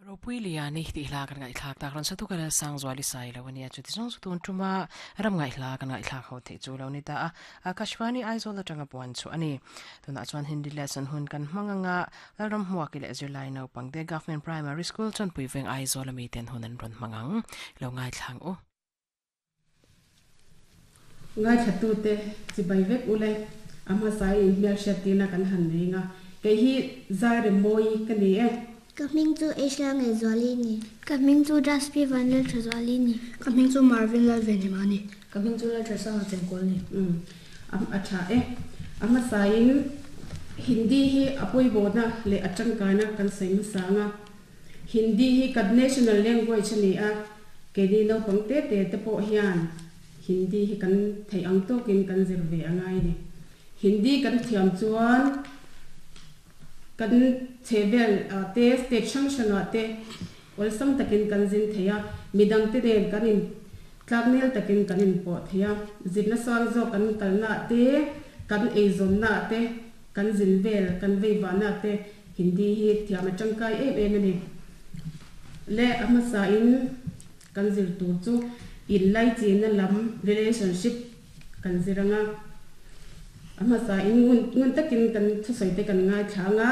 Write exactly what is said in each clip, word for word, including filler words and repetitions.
Ropuiliani tih hla kan ngaihthlak tak rawn satu kala sang zuali sai lo ania chuti zawng chu tun tuma ram ngaihla kan ngaihthlak ho theih chu lo ni ta a Akashvani Aizawl atanga puan chu ani tunah chuan Hindi lesson hun kan hmanganga lalram hmuak ile zirlai naupang te Government Primary School Chawnpui Veng Aizawl ami ten hun an rawn hmangang lo ngaithlang u. Ngai thatu te chibai vek ule ama sai in hmel hriat kan han nei nga ke hi zai re moi ka ni e. Ka hming chu Asia nge zuali ni. Ka hming chu Jaspi Vanlal Thazuali ni. Ka hming chu Marvin Lalvenhimani. Ka hming chu Lalthasanga Chengkawl ni. um am a tha e ama sai in Hindi hi apoi bona le atangkaina kan sai ma sanga Hindi hi kan national language ani a ke ni no pang te te te po hian Hindi hi kan thei ang tokin kan zir ve angai ni Hindi kan thiam chuan kan chevel te state sang sanga te olsam takin kan zin theya midang te den kan in tlaknel takin kan in po theya zirna sang zo kan kalna te kan eizon na te kan zin vel kan veiwa na te Hindi hi thiam atangkai em em ani le ama sa in kan zir tur chu in lai chi na lam relationship kan ziranga ama sa in ngun ngun takin kan thu soi te kan ngai thanga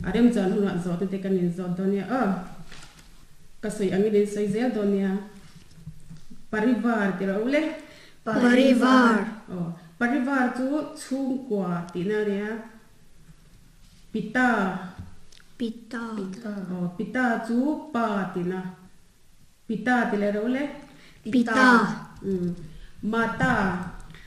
arem chan huna zo te te kan in zo donia a ka soi angin in soi zel donia parivar ti ro le. Parivar. Oh, parivar chu chung kwa ti na ria pita. Pita. Oh, pita chu pa ti na pita ti le ro le. Pita. Um mata.